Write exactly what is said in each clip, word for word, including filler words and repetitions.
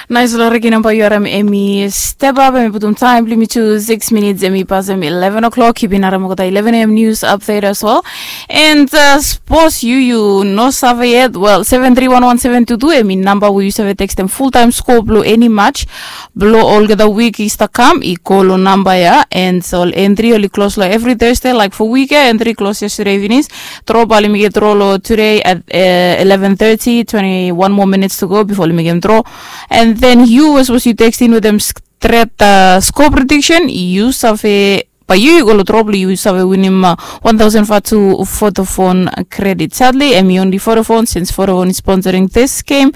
Nais long regi namba yu harim em i step ap, em i putum taem blong yumi tu sikis minits, em i pasem ileven o'clock. Yu bin harim olgeta ileven a.m. nius update as well. And sapos yu yu no save yet, well, seven three one one seven two two em i namba we yu save tekstem fultaem skoa blong eni match blong olgeta wik i stap kam i go long namba ya. And ol entri oli klos long evri Thursday, laik fo wik ya entri klos yestade finis. Dro bae oli mekem dro long tude at eleven thirty, twenty one more minutes to go bifo oli mekem dro. And then yu we sapos yu tekstem wetem stret skoa prediksen, yu save, bae yu yu go long dro blong yu save winim wan taosen vatu Vodafone kredit. Sadli em i onli Vodafone, sins Vodafone i sponsoring this game.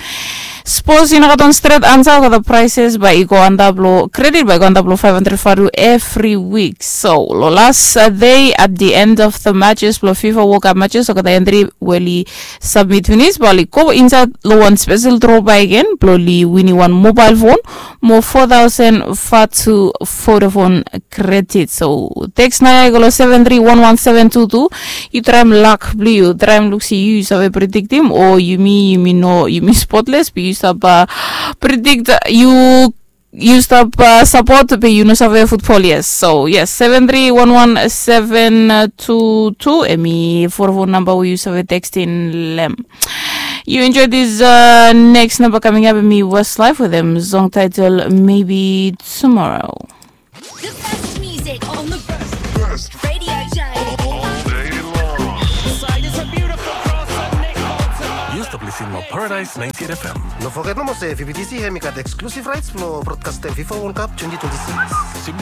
Sapos yu no gat wan stret ansa, olgeta praeses bae i go antap long kredit bae i go antap long faef handred vatu evri wik. So long las dei at the end of the matches blong FIFA World Cup matches, olgeta entri we oli sabmit finis bae oli go insaed long wan spesel dro bakegen blong oli winim wan mobael fon mo fo taosen vatu Vodafone kredit. So teks naoia i go long seven three one one seven two two. Yu traem lak blong yu, traem luk se yu yu save prediktim o yumi yumi no, yumi spotles be yu stap predikt, yu yu stap sapot be yu no save futbol. Yes, so yes, seven three one one seven two two em i Vodafone namba we yu save tekstem long hem. Yu enjoy this next number coming up, em i Westlife wetem song title Maybe Tomorrow. The best music on the best radio show. All day long. Side is a beautiful cross and Nick Bolton. Yu stap listening long Paradise ninety-eight F M. No foget nomo se V B T C hem i gat exclusive rights blong brodkastem FIFA World Cup twenty twenty-six.